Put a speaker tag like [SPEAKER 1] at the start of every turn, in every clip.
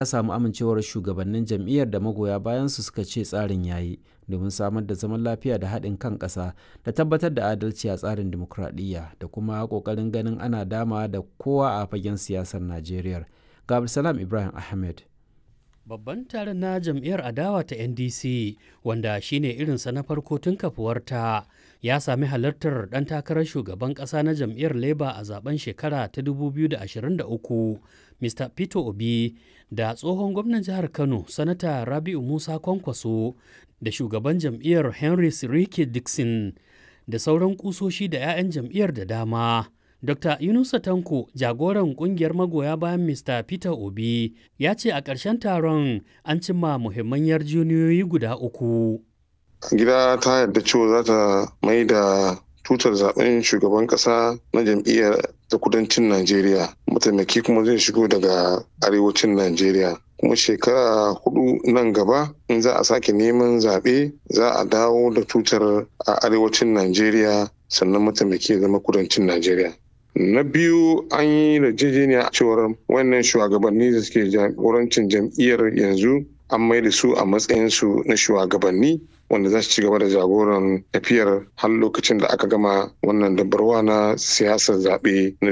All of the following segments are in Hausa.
[SPEAKER 1] Ya samu amincewar shugabannin jam'iyyar da magoya bayansu suka ce tsarin ya yi, domin samar da zaman lafiya da haɗin kan ƙasa da tabbatar da adalci a tsarin dimokuraɗiyya da kuma ƙoƙarin ganin ana damawa da kowa a fagen siyasar Najeriya. Ga Abdulsalam Ibrahim Ahmed.
[SPEAKER 2] Babban taron na jam'iyyar adawa ta NDC, wanda shine irinsa na farko tun kafuwarta, ya sami halartar ɗan takarar shugaban ƙasa na jam'iyyar Labour a zaben shekara ta 2023, Mr. Peter Obi, da tsohon gwamnan jihar Kano, Sanata Rabi'u Musa Kwankwaso, da shugaban jam'iyyar Henry Sirike Dixon, da sauran kusoshi da 'ya'yan jam'iyyar da dama. Dr. Yunusa Tanko, jagoran kungiyar magoya bayan Mr. Peter Obi, ya ce a ƙarshen taron an cimma muhimman yarjejeniyoyi guda uku.
[SPEAKER 3] Gida ta yarda cewa za ta mai da tutar zaben shugaban kasa na jam'iyyar ta kudancin Najeriya. Mataimaki kuma zai shigo daga arewacin Najeriya. Kuma shekara 4 nan gaba in za a sake neman zaɓe, za a dawo da tutar a arewacin Najeriya, sannan mataimaki ya zama kudancin Najeriya. Na biyu, an yi yarjejeniya cewar wannan shugabanni da suke jagorancin jam'iyyar yanzu an mai da su a matsayinsu na shugabanni wanda za su ci gaba da jagoran tafiyar har lokacin da aka gama wannan dabarwa na siyasar zaɓe na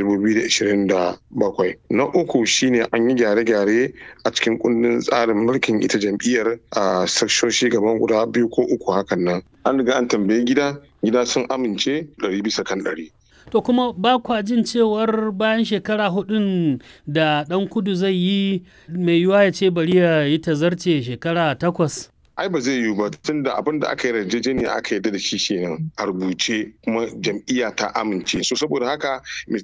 [SPEAKER 3] 2027. Na uku shine an yi gyare-gyare a cikin kundin tsarin mulkin ita jam'iyyar a sakshoshi gaban guda biyu ko uku hakan nan. An riga an tambayi gida, gida sun amince 100 bisa kan 100.
[SPEAKER 2] To kuma ba kwa jin cewar bayan shekara hudun da ɗan kudu zai yi, mai yiwuwa ya ce bari ya yi tazarce shekara 8?
[SPEAKER 3] Ai ba zai yiwu ba, tunda abin da aka yi yarjejeniya aka yarda da shi kenan a rubuce, kuma jam'iyya ta amince. So saboda haka Mr.